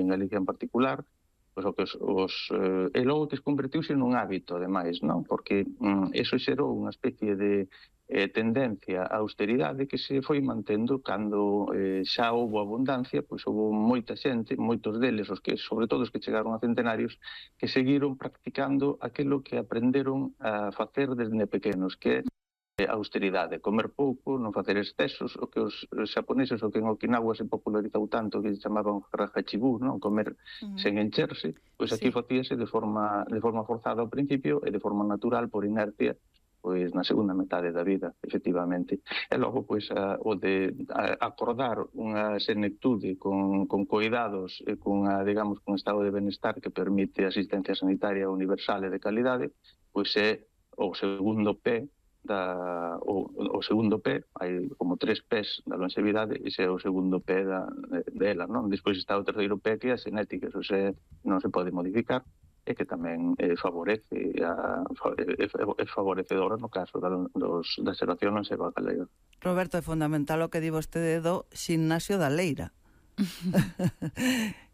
Galicia en particular, pois e logo que se convertiuse nun hábito, ademais, non? Porque eso xerou unha especie de tendencia á austeridade que se foi mantendo cando xa houbo abundancia, pois houbo moita xente, moitos deles, sobre todo os que chegaron a centenarios, que seguiron practicando aquilo que aprenderon a facer desde pequenos, que é austeridade, comer pouco, non facer excesos, o que os xaponeses, o que en Okinawa se popularizou tanto, que se chamaban rajachibú, non? Comer sen encherse, pois aquí facíase de forma forzada ao principio e de forma natural, por inercia, pois na segunda metade da vida, efectivamente. E logo, pois, o de acordar unha senectude con cuidados e con estado de benestar que permite asistencia sanitaria universal e de calidade, pois é o segundo P o segundo P, hai como 3 Ps da longevidade, ese é o segundo P dela, non? Despois está o terceiro P, que é a xenética, eso non se pode modificar, e que tamén favorece é favorecedora no caso da xeración longeva galega. Roberto, é fundamental o que di vostede do ximnasio da leira.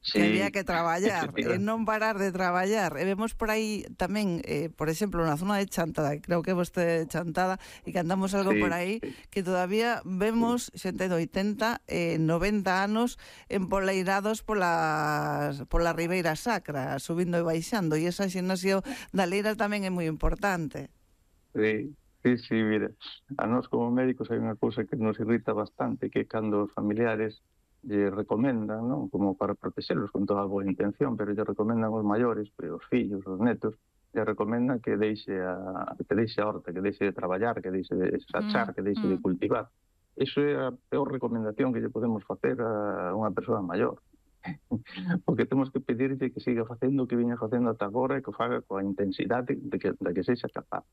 Sí, que había que traballar e non parar de traballar, e vemos por aí tamén, por exemplo, na zona de Chantada, creo que vostede de Chantada, e que andamos algo por aí, que todavía vemos xente de 80 e 90 anos empoleirados pola Ribeira Sacra, subindo e baixando, e esa ximnasio da leira tamén é moi importante. Sí, mira, a nós como médicos hai unha cousa que nos irrita bastante, que cando os familiares lle recomendan, non? Como para protexelos con toda a boa intención, pero lle recomendan os maiores, os fillos, os netos, lle recomendan que deixe a horta, que deixe de traballar, que deixe de sachar, que deixe de cultivar. Iso é a peor recomendación que lle podemos facer a unha persoa maior. Porque temos que pedirlle que siga facendo o que viña facendo ata agora e que o faga coa intensidade da que sexa capaz.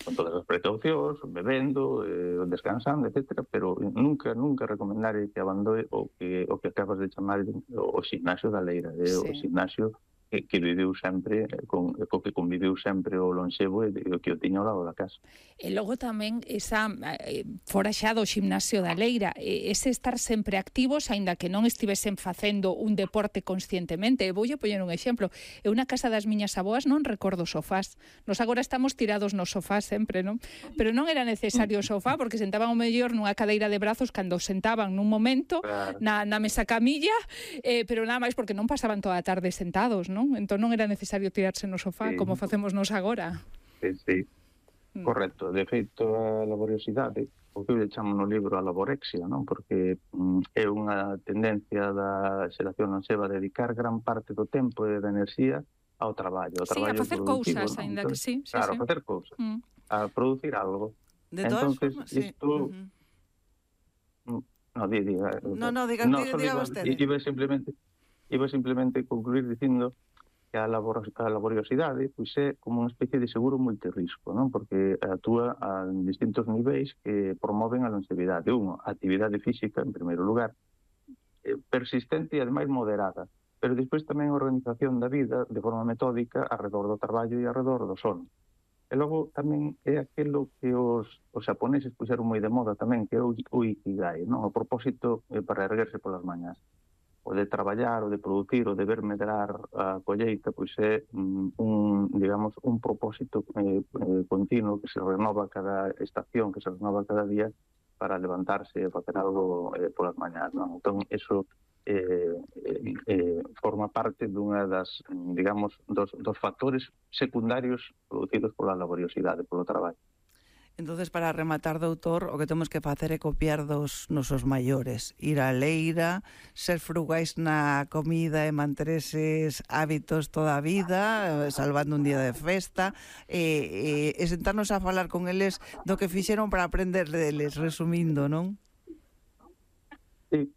Con todas as precaucións, bebendo, descansando, etc. Pero nunca recomendar que abandone o que acabas de chamar o ximnasio da leira, o ximnasio que viveu sempre, co que conviveu sempre o lonxevo e o que o tiña ao lado da casa. E logo tamén esa fora xa do ximnasio da leira, ese estar sempre activos, aínda que non estivesen facendo un deporte conscientemente. Voulle poñer un exemplo. Eu na casa das miñas avoas non recordo sofás. Nos agora estamos tirados no sofá sempre, non? Pero non era necesario o sofá, porque sentaban o mellor nunha cadeira de brazos cando sentaban nun momento, na mesa camilla, pero nada máis porque non pasaban toda a tarde sentados, non? Entón non era necesario tirarse no sofá como facemos nos agora. Sí. Correcto. De feito, a laboriosidade, o que eu chamo no libro a laborexia, non? Porque é unha tendencia da xeración lonxeva a dedicar gran parte do tempo e da enerxía ao traballo. Sí, a facer cousas, aínda que sí. Claro, a facer cousas, a producir algo. De todas formas, sí. No, diga vostede. Iba simplemente concluir dicindo que a laboriosidade pois é como unha especie de seguro multirrisco, non? Porque actúa a distintos niveis que promoven a longevidade. A actividade física, en primeiro lugar, persistente e ademais moderada, pero despois tamén a organización da vida de forma metódica arredor do traballo e arredor do sono. E logo tamén é aquilo que os xaponeses puxeron moi de moda tamén, que é o ikigai, non? O propósito para erguerse polas mañás. O de traballar, o de producir, o de ver medrar a colleita, pois é un propósito continuo que se renova cada estación, que se renova cada día para levantarse e facer algo polas mañás, non? Entón, eso forma parte dunha das, dos factores secundarios producidos pola laboriosidade, polo traballo. Entonces, para rematar, doutor, o que temos que facer é copiar dos nosos maiores, ir á leira, ser frugais na comida e manter eses hábitos toda a vida, salvando un día de festa, e sentarnos a falar con eles do que fixeron para aprender deles, resumindo, non? Sí,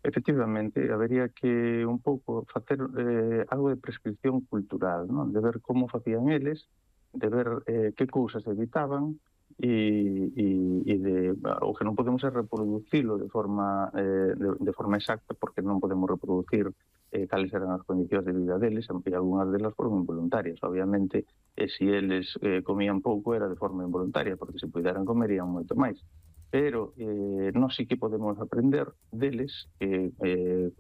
efectivamente, habería que un pouco facer algo de prescripción cultural, non? De ver como facían eles, de ver que cousas evitaban e o que non podemos é reproducilo de forma exacta, porque non podemos reproducir cales eran as condicións de vida deles, e algunhas delas foron involuntarias. Obviamente, se eles comían pouco era de forma involuntaria, porque se puderan comerían moito máis. Pero nós sí que podemos aprender deles comer